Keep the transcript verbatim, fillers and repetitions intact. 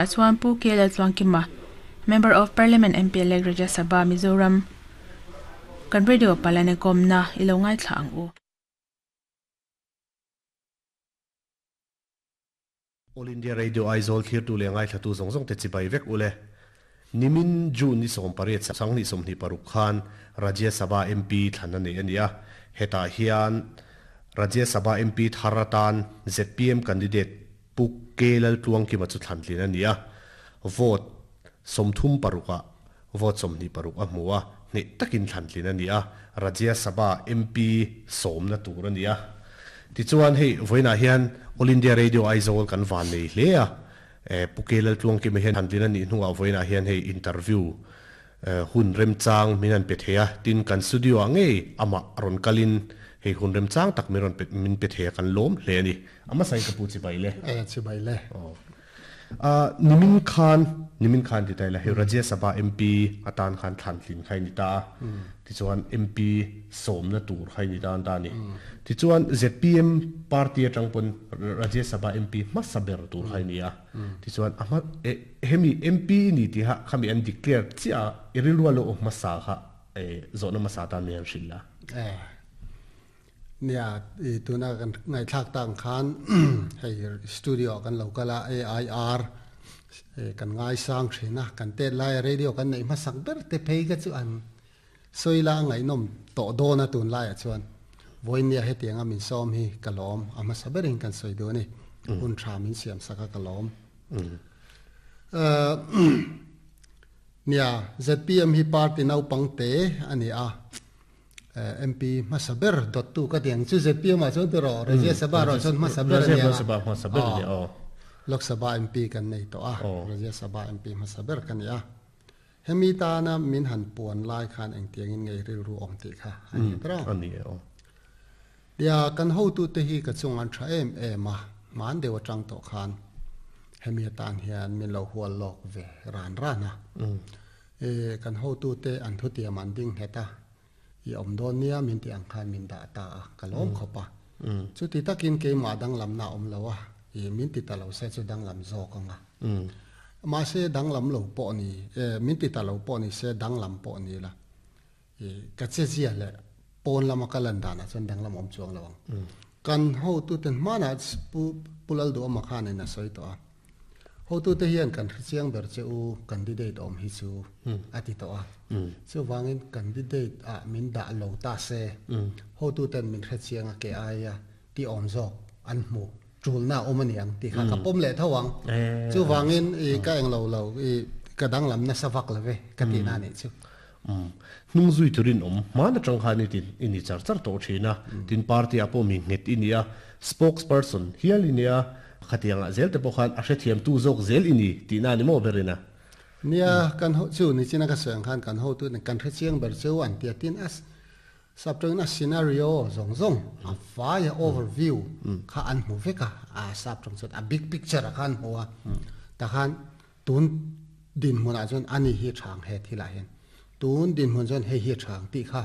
Chuan Pu K Laltluangkima, Member of Parliament M P elect Rajya Sabha Mizoram kan radio palane komna ilo ngai thla ang u. All India Radio Aizawl thlir tu le ngai thla tu zawng zawng te chibai vek ule. Nimin June ni sawm pariat sanghnih sawmhnih paruk khan Rajya Sabha M P thlan a nei a ni a. Hetah hian Rajya Sabha M P thar atan Z P M candidate Pu K Laltluangkima chu thlan tlin a ni a. Vote sawmthum paruka vote sawmhnih paruk a hmu a, hne takin thlan tlin a ni a. Rajya Sabha M P sawmna tur a ni a. Tichuan hei vawiinah hian All India Radio Aizawl kan van nei hle a. Pu K Laltluangkima hian thlan tlin a nih hnuah vawiinah hian hei interview hun remchang min an pe thei a. Tin kan studio ah ngei amah rawn kalin hei hun remchang tak min rawn pe min pe thei a kan lawm hle a ni. Ama sain ka pu chibai le. Eh chibai le. A nimin khan nimin khan ti tai la hei Rajya Sabha M P atan khan thlan tlin khai ni ta a. Tichuan M P sawmna tur khai ni ta an ta ni. Tichuan Z P M party atang pawn Rajya Sabha M P hmasa ber tur khai ni a. Tichuan a hma hemi M P ni tiha khami an declare chiah a i rilru lo hmasa kha zawhna hmasa tan mi an hrilh la. Eh nia i tuna kan ngai thlak tang khan hei studio kan local a A I R kan ngai sang thina kan tet lai radio kan nei hmasak ber te phei ka chu an soila ngai nom to dona tun lai a chuan voinia hetianga min som hi kalom a hmasa berin kan soi do ni hun tha min siam saka kalom eh nia Z P M hi party nau pangte ani a M P hmasa dot tu ka tiang chu Z P M a chuan ti ro Rajya Sabha ro chuan hmasa ber ani Rajya Sabha hmasa ber ni o Lok Sabha M P kan nei to a Rajya Sabha M P hmasa ber kan ni a hemi ta na min han puan lai khan eng tiang in ngei ril ru om ti kha ani tra ani o dia kan ho tu te hi ka chung an tha em em a man dewa tang to khan hemi tan hian min lo hual lok ve ran rana e kan ho tu te an thu tiam an ding heta i om don nia min ti ang khan min da ta a kalom khopa chu ti takin ke ma dang lam na om lowa i min ti ta lo se chu dang lam zo ka nga ma se dang lam lo po ni e min ti ta lo po ni se dang lam po ni la i ka che zia le pon lama kalan da na chan dang lam om chuang lawang kan ho tu ten mana pu pulal do ma khan na soi to a ho tu te hian kan chiang ber che u candidate om hi chu ati to a chu wangin candidate a min da lo ta se ho tu ten min hre chiang a ke ai a ti om zo an mu chul na om ani ang ti kha ka pom le thawang chu wangin i ka eng lo lo i ka dang lam na sawak lave ka ti na ni chu nung zui turin om mana tang khan ni tin ini char char to thina tin party apo mi nget inia spokesperson hial inia khatianga zel te pokhan a hre thiam tu zok zel ini ti na ni mo berina nia kan ho chu ni china ka sang khan kan ho tu kan hre chiang ber chu an tia tin as sabtang na scenario zong zong a fire overview kha an mu veka a sabtang chu a big picture a khan hoa ta khan tun din mun a chon ani hi thang he thila hen tun din mun chon he hi thang ti kha